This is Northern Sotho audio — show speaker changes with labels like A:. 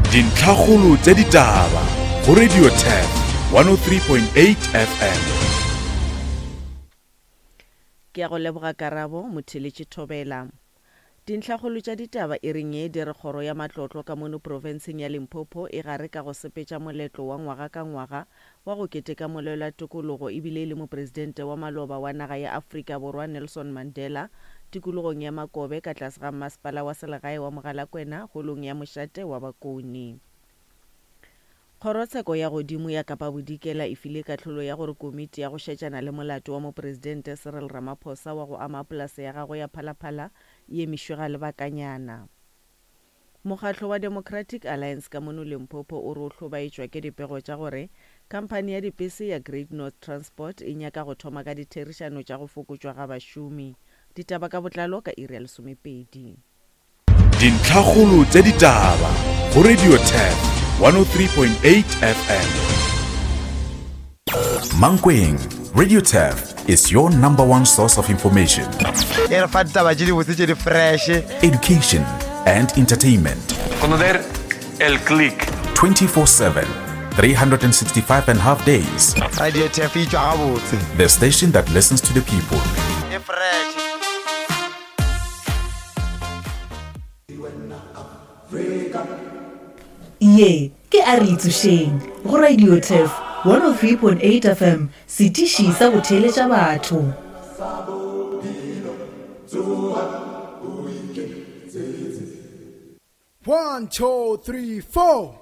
A: Dintlhakgolo tša ditaba go Radio Turf 103.8 FM.
B: Ke a go leboga Karabo, Motheeletši Thobela. Dintlhakgolo tša ditaba iring ye di re kgoro ya matlotlo ka mono profenseng ya Limpopo e gare ka go sepetša moletlo wa ngwaga ka ngwaga wa go keteka molwela tokologo ebile e le mopresidente wa maloba wa naga ya Afrika Borwa Nelson Mandela tikologong ya Makobe ka tlase ga mmasepala wa selegae wa Mogalakwena holong ya mošate wa Bakone. Kgorotsheko ya Godimo ya Kapa Bodikela e file kahlolo ya gore komiti ya go šetšana le molato wa Mopresidente Cyril Ramaphosa wa go ama polase ya gagwe ya Phalaphala e emišwe ga lebakanyana. Mokgatlo wa Democratic Alliance ka mono Limpopo o re o hlobaetšwa ke dipego tša gore khamphani ya dipese ya Great North Transport e nyaka go thoma ka ditherišano tša go fokotšwa ga bašomi. Ditaba ka botlalo ka iri ya lesomepedi.
A: Dintlhakgolo tša ditaba go Radio Turf 103.8 FM. Mankweng, Radio Turf is your number one source of information.
C: E re fa ditaba tše dibotse tše di fresh.
A: Education and entertainment.
D: Conocer el click.
A: 24/7, 365 and half days.
C: Radio Turf e tšwa gabotse.
A: The station that listens to the people.
C: E fresh.
E: Ye ke A Re Itsošeng go Radio Turf 103.8 FM, setiši sa go theeletša batho.
F: One, two, three, four.